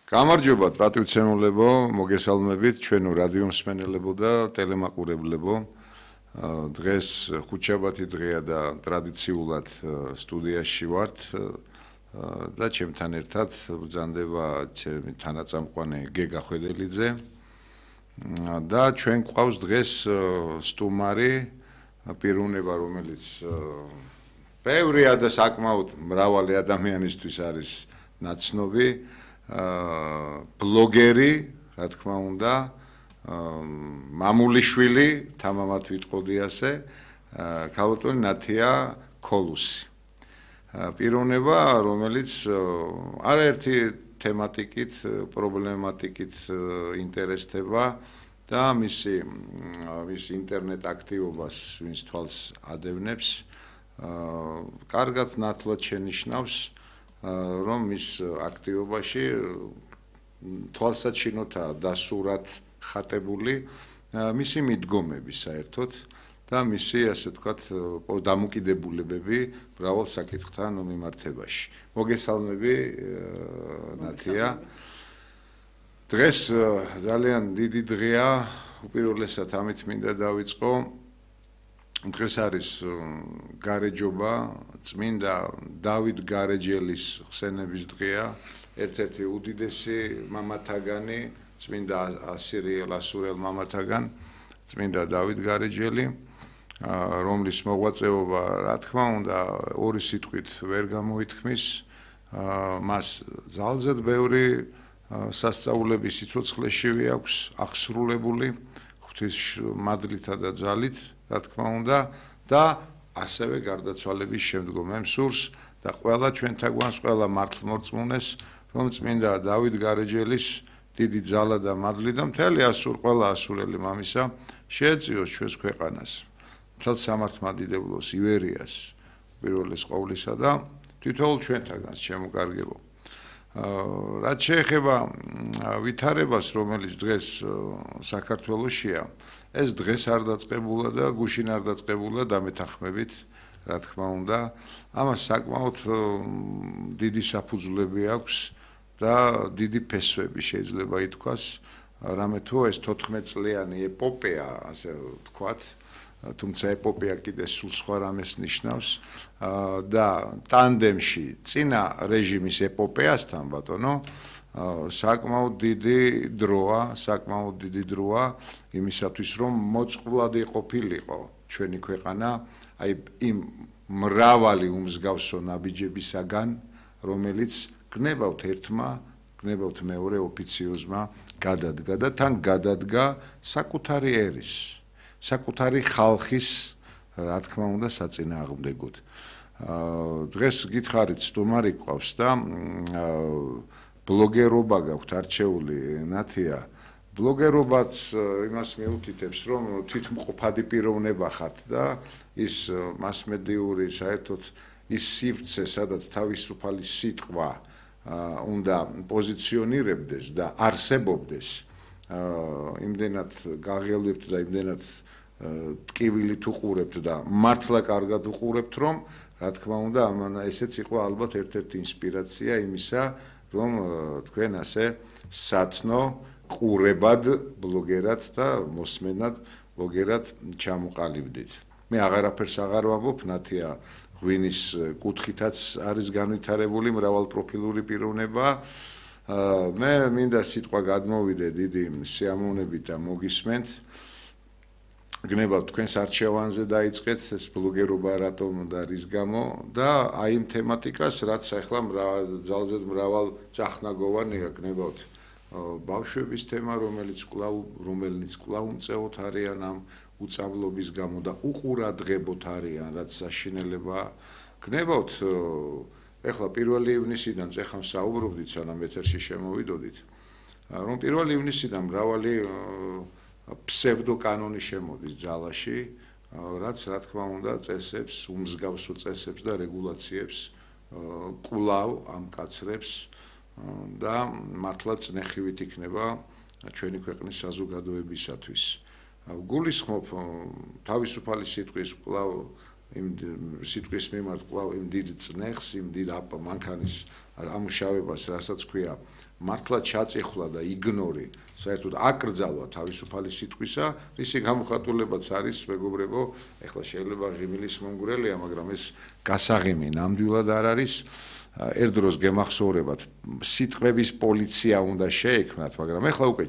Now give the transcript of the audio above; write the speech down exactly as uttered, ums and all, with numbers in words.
გამარჯობა პატივცემულებო, მოგესალმებით ჩვენო რადიო მსმენელებო და ტელემაყურებლებო. დღეს ხუთშაბათი დღეა და ტრადიციულად სტუდიაში ვართ და ჩემთან ერთად ბრძანდება ჩემი თანაწამყვანი გეგა ხვედელიძე და ჩვენ გვყავს დღეს სტუმარი პიროვნება, რომელიც ბევრია და საკმაოდ მრავალი ადამიანისთვის არის ნაცნობი. ბლოგერი, რა თქმა უნდა, მამულიშვილი, თამამად ვიტყოდი ასე, ქალბატონი ნათია ქოლუსი. პიროვნება, რომელიც არაერთი თემატიკით, პრობლემატიკით ინტერესდება და მისი მის ინტერნეტ აქტივობას ვინც თვალს ადევნებს, კარგად ნათლად შენიშნავს რომ მის აქტივობაში თვალსაჩინოთაა დასურად ხატებული მისი მიდგომები საერთოდ და მისი ასე ვთქვათ დამოკიდებულებები მრავალ საკითხთან მიმართებაში. მოგესალმები ნათია. დღეს ძალიან დიდი დღეა, უპირველესად ამით მინდა დავიწყო. დღეს არის გარეჯობა, წმინდა დავით გარეჯელის ხსენების დღეა, ერთ-ერთი უდიდესი მამათაგანი, წმინდა ასირიელ ასურელ მამათაგან, წმინდა დავით გარეჯელი, რომლის მოღვაწეობა, რა თქმა უნდა, ორი სიტყვით ვერ გამოითქმის, მას ძალზედ ბევრი სასწაულები სიცოცხლეშივე აქვს აღსრულებული, ღვთის მადლითა და ძალით, რა თქმა უნდა და ასევე გარდაცვალების შემდგომ მსურს და ყველა ჩვენთან გვანს, ყველა მართლმორწმუნეს, რომ წმინდა დავით გარეჯელის დიდი ძალა და მადლი და მთელი ასურ, ყველა ასურელი მამისა შეეწიოს ჩვენს ქვეყანას, მთელ სამართლმადიდებლოს, ივერიას, პირველეს ყოვლისა და თითოეულ ჩვენთანაც შემოკარგებო. რაც შეეხება ვითარებას, რომელიც დღეს საქართველოშია, ეს დღეს არ დაწყებულა და გუშინ არ დაწყებულა დამეთანხმებით, რა თქმა უნდა, ამას საკმაოდ დიდი საფუძვლები აქვს და დიდი ფესვები შეიძლება ითქვას, რამე თუ ეს თოთხმეტწლიანი ეპოპეა, ასე ვთქვათ, თუმცა ეპოპეა კიდე სულ სხვა რამეს ნიშნავს და ტანდემში წინა რეჟიმის ეპოპეასთან ბატონო საკმაოდ დიდი დროა, საკმაოდ დიდი დროა იმისათვის, რომ მოწყვლადი ყოფილიყო ჩვენი ქვეყანა, აი იმ მრავალი უმსგავსო ნაბიჯებისაგან, რომელიც გნებავთ ერთმა, გნებავთ მეორე ოფიციოზმა გადადგა და თან გადადგა საკუთარი ერის, საკუთარი ხალხის, რა თქმა უნდა, საწინააღმდეგოდ. დღეს გითხარით სტუმარი გვყავს და ბლოგერობა გაქვთ არჩეული ნათია. ბლოგერობაც იმას მიუთითებს, რომ თვითმყოფადი პიროვნება ხართ და ის მასმედიური საერთოდ ის სივრცე, სადაც თავისუფალი სიტყვა უნდა პოზიციონირებდეს და არსებობდეს, იმდენად გაღელვებთ და იმდენად ტკივილით უყურებთ და მართლა კარგად უყურებთ, რომ რა თქმა უნდა, ამან ესეც იყო ალბათ ერთ-ერთი ინსპირაცია იმისა, რომ თქვენ ასე სათნო ყურებად ბლოგერად და მოსმენად ბლოგერად ჩამოყალიბდით. მე აღარაფერს აღარ ვამბობ, ნათია ღვინის კუთხითაც არის განვითარებული მრავალპროფილური პიროვნება. მე მინდა სიტყვა გადმოვიდე დიდი სიამოვნებით და მოგისმენთ. გნებავთ თქვენს არჩევანზე დაიწყეთ ეს ბლოგერობა რატომ და რის გამო და აი იმ თემატიკას, რაც ახლა ძალზედ მრავალ წახნაგოვანია, გნებავთ ბავშვების თემა, რომელიც კვლავ რომელიც კვლავ უმწეოთ არიან ამ უწავლობის გამო და უყურადღებოთ არიან, რაც საშინელება. გნებავთ ეხლა პირველი ივნისიდან წეხამ საუბრობდით, სანამ ეთერში შემოვიდოდით, რომ პირველი ივნისიდან მრავალი ფსევდოკანონი შემოდის ძალაში, რაც რა თქმა უნდა წესებს, უმსგავსო წესებს და რეგულაციებს კვლავ ამკაცრებს და მართლა წნეხივით იქნება ჩვენი ქვეყნის საზოგადოებისათვის. გულისხმობ თავისუფალი სიტყვის კვლავ იმ სიტყვის მიმართ კვლავ იმ დიდ წნეხს, იმ დიდ მანქანის ამუშავებას, რასაც ქვია, მართლა ჩაწიხვლა და იგნორი, საერთოდ აკრძალვა თავისუფალი სიტყვისა, ისი გამოხატულებაც არის, მეგობრებო, ეხლა შეიძლება ღიმილის მომგვრელია, მაგრამ ეს გასაღიმი ნამდვილად არ არის. ერთ დროს გემახსოვრებათ, სიტყვების პოლიცია უნდა შეექმნათ, მაგრამ ეხლა უკვე